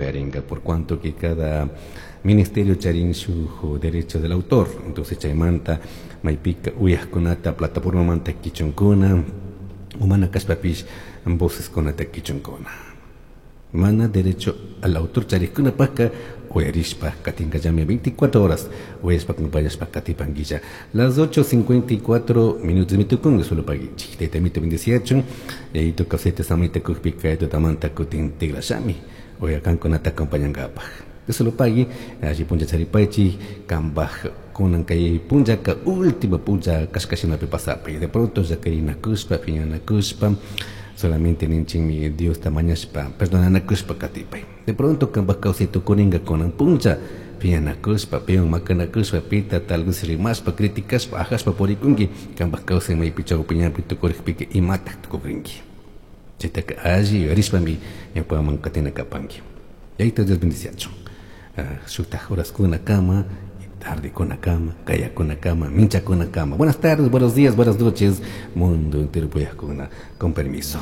Uyaringa, por cuanto que cada ministerio charin shuj derecho del autor. Entonces chaymanta maypika uyajkunata plataformamanta kichunkuna, umana kashpapish voceskunata kichunkuna. Mana derecho al autor charikkunapaka uyarishpa katinkallami 24 horas uyashpa acompañashpa katipanguilla. Las 8:54 minutos mitukun solo paguichik. Tayta mito bendeciachun. Yayito kawsayta samayta kukpika tutamanta kutin tigrashami. Uyakankunata acompañankapaj. Dios lo pague, allí puncha charipaichi, kambaj kunan kay punchaka última puncha kashkashinapi pasapi. De pronto ya querinakushpa, piñanakushpa, solamente ninchinmi Diosta mañashpa, perdonanakushpa katipay. De pronto kambaj kawsay tukuringa kunan puncha, piñanakushpa, pion makanakushpa, pita tal vez rimashpa, criticashpa, ajashpa purikunki, kambaj kawsay maypi chawpiñapi tukurikpika imataq tukurinki. Chaytaka alli yuyarishpami ñawpaman katina kapanki. Yayta Dios bendiciachun. Shuktaj horaskuna kama, tardekuna kama, kayakuna kama, minchakuna kama. Buenas tardes, buenos días, buenas noches, mundo entero puyajkuna. Con permiso.